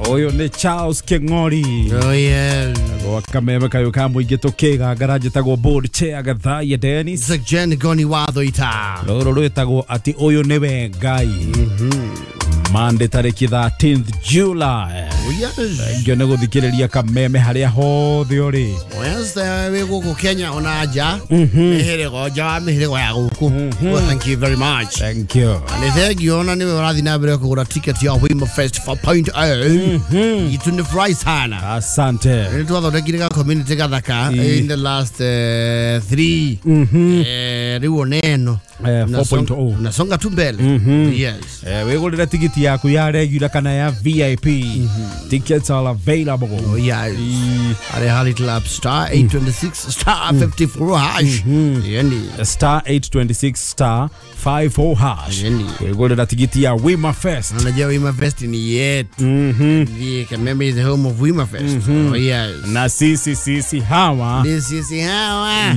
Ũyũ nĩ Charles Kĩng'ori. Oh yes. Gwa kameme kayũ ka mũingĩ tũkĩgangara njĩtagwo board chair Gathaiya Dennis. Jen Goni Wathoita. Rũrũ rwĩtagwo atĩ ũyũ nĩwe Ngai. Monday tarĩki 13th July. Oh yes. Ngio nĩ gũthikĩrĩria kameme harĩa hothe ũrĩ. Yes, wĩ gũkũ Kenya ona nja. Mĩhĩrĩgo nja wa mĩhĩrĩgo ya gũkũ. Well, thank you very much. Thank you. Nĩ thengio ona nĩwe ũrathiĩ na mbere kũgũra ticket ya Wima Fest 4.0. Itu nĩ furahi sana. Asante. Nĩ twathondekire ga community gathaka in the last three. Rĩu ona ĩno. 4.0. Unasonga tu mbele. Yes. Wĩgũrĩre tigiti yaku ya regular kana ya VIP. Tickets are available. Oh yes. Are Harry Club star 826 star 54 hash. Yani. Star 826 star 54 hash. Yani. Wĩgũrĩra tigiti ya Wima Fest. Unajua Wima Fest ni yetu. The Kameme is the home of Wima Fest. Oh yes. Na sisi hawa. Ni sisi hawa.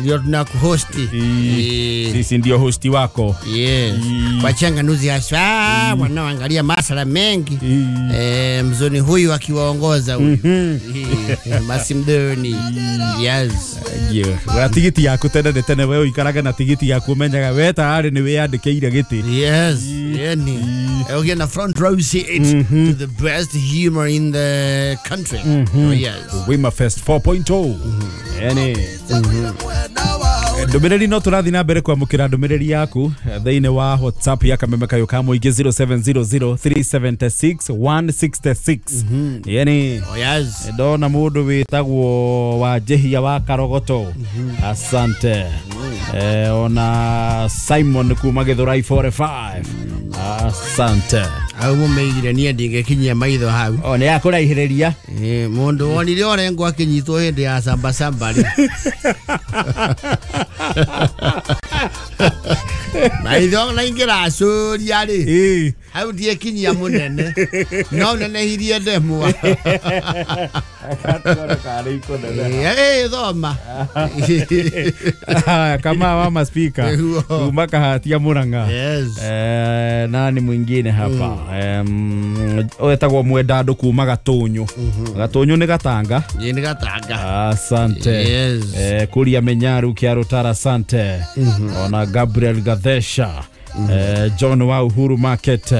Ndio tunakuhosti. Sisi ndio hosti wako. Yes. Wachanganuzi haswa wanaoangalia masala mengi. Mzoni huyu akiwaongoza huyu. Masimdoni. Yes. Gũra tigiti yaku tene nĩ tene we ũikaraga na tigiti yaku ũmenyaga we tayari nĩ wĩyandĩkĩire gĩtĩ. Yes. Yani. Ukienda na front row seat to the best humor in the country. Oh, yes. Wima Fest 4.0. Yani. Ndũmĩrĩri no tũrathiĩ na mbere kwamũkĩra ndũmĩrĩri yaku thĩinĩ wa WhatsApp ya kameme kayũ ka mũingĩ 0700376166. Yani. Oh yes. Ndona mũndũ wĩtagwo wa Njehia wa Karogoto. Asante. Ona Simon kuma Githurai 45. Asante. Hau mũmeigire niĩ ndingĩkinyia maitho hau. O nĩ akũraihĩrĩria. Mũndũ wonire Orengo akĩnyitwo hĩndĩ ya samba samba rĩ. Maitho na ingĩracũria rĩ. Hau ndiĩkinyia mũnene. No nenehirie ndemwa. Thoma. Kama wa speaker. Kuma Kahatia Murang'a. Yes. Nani mwingine hapa? Wetagwo Mwendandũ kuma Gatũnyũ. Gatũnyũ nĩ Gatanga. Nĩ Gatanga. Asante. Yes. Kuria Menyaru Kiarutara, asante. Ona Gabriel Gathesha. John wa Uhuru Market.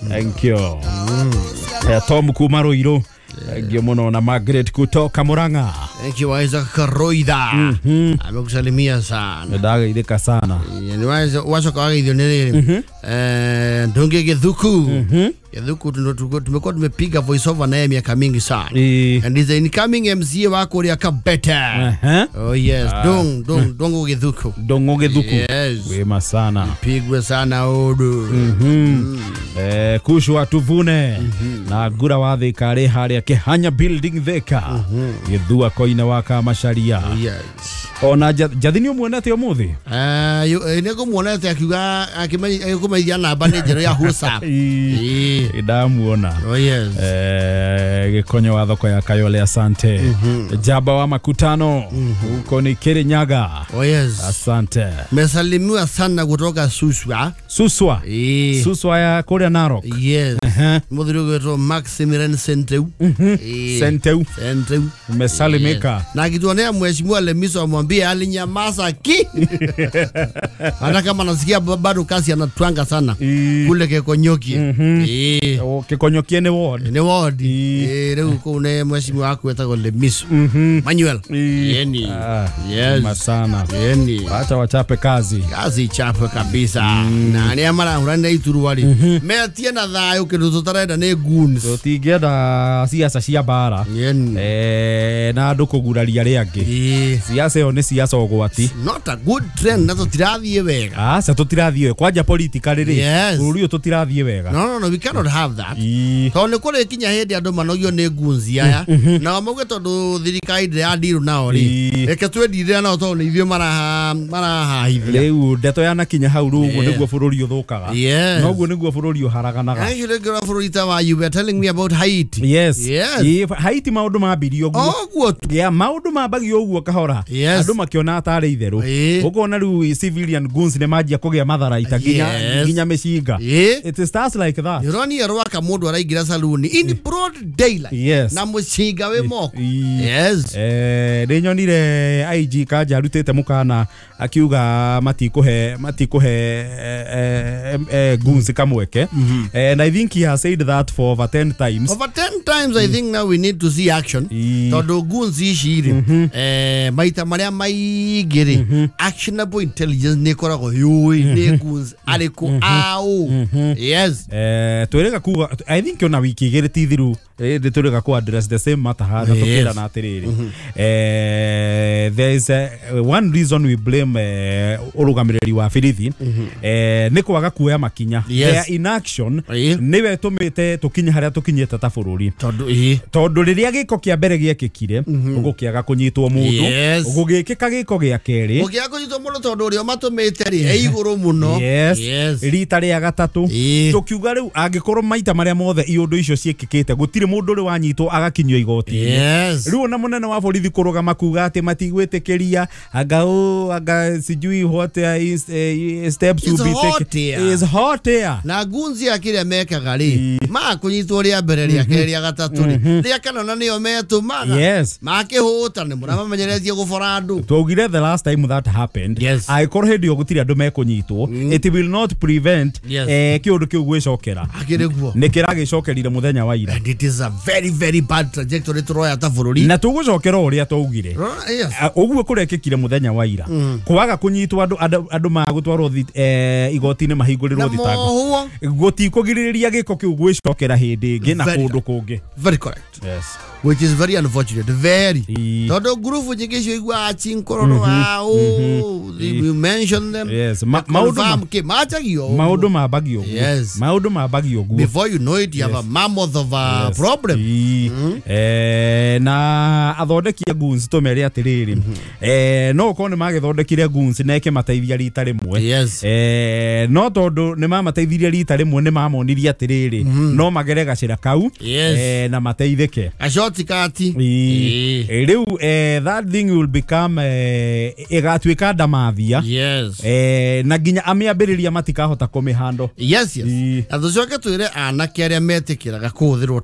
Thank you. Tom kuma Ruiru. Thank you muno. Na Margaret kutoka Murang'a. Thank you Isaac Karoida. Amekusalimia sana. Ndageithĩka sana. Ni wacoka wageithio nĩ rĩrĩ. Ndunge Githuku. Githuku tumekuwa tumepiga voice over naye miaka mingi sana. And he's the incoming MCA wa kũrĩa Kabete. Oh yes, Dongo Githuku. Dongo Githuku. Yes. Wema sana. Pigwe sana odu. Kushwa tuvune. Na Ngura wa Thika rĩ harĩa Kĩhanya building Thika. Gĩthua koine wa Kamacharia. Yes. Ona Njathi nĩ ũmuonete ũmũthĩ? Nĩ ngũmuonete akiuga akĩmenyithia namba nĩ njerũ ya WhatsApp. Ndamuona. Oh yes. Gĩkonyo wa thoko ya Kayole, asante. Jaba wa makutano huko ni Kirinyaga. Oh yes. Asante. Mesalimiwa sana kutoka Suswa. Suswa. Suswa ya kũrĩa Narok. Yes. Mũthuri ũgwĩtwo Maximilian Senteu. Senteu. Senteu. Umesalimika. Na akituonea mheshimiwa Lemiso amwambie alinyamaza ki. Hata kama nasikia bado kasi anatwanga sana. Kule Kekonyokie. Kekonyokie nĩ ward. Nĩ ward. Rĩu kũu nĩ mheshimiwa waku wetagwo Lemiso. Manuel. Yeni. Yes. Masana. Yeni. Acha wachape kazi. Kazi chape kabisa. Na arĩa marahũranĩra iturwa rĩ. Metie na thayũ kĩndũ tũtarenda nĩ goons. Tũtingĩenda siasa cia mbara. Na andũ kũguraria arĩa angĩ. Siasa ĩyo nĩ siasa ũgwati. Not a good trend na tũtirathiĩ wega. Aca tũtirathiĩ wega. Kwanja politically rĩ. Bũrũri ũyũ tũtirathiĩ wega. No, no, we cannot have that. Tondũ nĩ kũrĩ kinya hĩndĩ andũ manogio nĩ goons aya. Nao mauge tondũ thirikari ndĩradirwo nao rĩ. Reke twĩndirĩra nao tondũ nĩ ithuĩ marahahithia. Rĩu ndeto yanakinya hau rĩu ũguo nĩguo bũrũri ũthũkaga. Noguo nĩguo bũrũri ũharaganaga. Actually, bũrũri ta wa you were telling me about Haiti. Yes. Yes. Haiti maũndũ mambirie ũguo. Ũguo tu. Yeah, maũndũ mambagio ũguo kahora. Yes. Andũ makĩona tarĩ itherũ. Ũkona rĩu civilian guns nĩ manjia kũgĩa matharaita nginya mĩcinga. It starts like that. Ũronia rwaka mũndũ araingĩra saluni in broad daylight. Na mũcinga wĩ moko. Yes. Nĩ nyonire IG Kanja arutĩte mũkana akiuga matikũhe guns kamweke. And I think he has said that for over 10 times. Over 10 times. I think now we need to see action. Tondũ guns ici rĩ, maita marĩa maingĩ rĩ, actionable intelligence nĩ ĩkoragwo yũĩ nĩ guns arĩkũ aũ. Yes. Twĩrĩga kuga I think ona wiki igĩrĩ ti thiru nĩ twĩrĩga ku address the same matter haha na tũkĩrana atĩrĩrĩ, there is one reason we blame ũrũgamĩrĩri wa birithi nĩ kwaga kuoya makinya. Their inaction nĩwe tũmĩte tũkinye harĩa tũkinyĩte ta bũrũri. Tondũ rĩrĩa gĩko kĩa mbere gĩekĩkire ũgũkĩaga kũnyitwo mũndũ, ũgũgĩkĩka gĩko gĩa kerĩ ũkĩaga kũnyitwo mũndũ tondũ ũrĩa matũmĩte rĩ e igũrũ mũno. Rita rĩa gatatũ tũkiuga rĩu angĩkorwo maita marĩa mothe iũndũ icio ciĩkĩkĩte gũtirĩ mũndũ ũrĩ wanyitwo agakinyio igoti-inĩ. Rĩu ona mũnene wa borithi kũrũgama kuga atĩ matigwĩtĩkĩria anga sijui what steps will be taken is hot air. Na gunzi ya kĩrĩa mekaga rĩ makũnyitwo rĩa mbere rĩa kerĩ rĩa gatatũ rĩ rĩa kana na nĩo metũmaga makĩhũta nĩ mũramamenyeretie gũbora andũ. Twaugire the last time that happened angĩkorwo hĩndĩ ĩyo gũtirĩ andũ mekũnyitwo, it will not prevent kĩũndũ kĩu gwĩcokera. Nĩ kĩragĩcokerire mũthenya wa ira. And it is a very very bad trajectory tũroya ta bũrũri. Na tũgũcokera ũrĩa twaugire ũguo kũrekĩkire mũthenya wa ira kwaga kũnyitwo andũ magũtwarwo igoti-inĩ mahingũrĩrwo thitango gũtikũgirĩrĩria gĩko kĩu gwĩcokera hĩndĩ ĩngĩ na kũndũ kũngĩ. Very correct. Yes. Which is very unfortunate. Very. Tondũ ngurubu nyingĩ icio iguaga chinkororo ao, you mention them. Yes. Maũndũ mambagio ũguo. Yes. Maũndũ mambagio ũguo. Before you know it, you have a mammoth of a problem. Na athondeki a guns tũmere atĩrĩrĩ, no ũkorwo nĩ magĩthondekire guns na ĩkĩmateithia rita rĩmwe. No tondũ nĩ mamateithirie rita rĩmwe nĩ mamonirie atĩrĩrĩ no magere gacĩra kau na mateithĩke. Rĩu that thing will become ĩgatuĩka ndamathia. Na nginya amĩambĩrĩria matikahota kũmĩhandle. Yes. Na tũcoke twĩre anake arĩa metĩkĩraga kũhũthĩrwo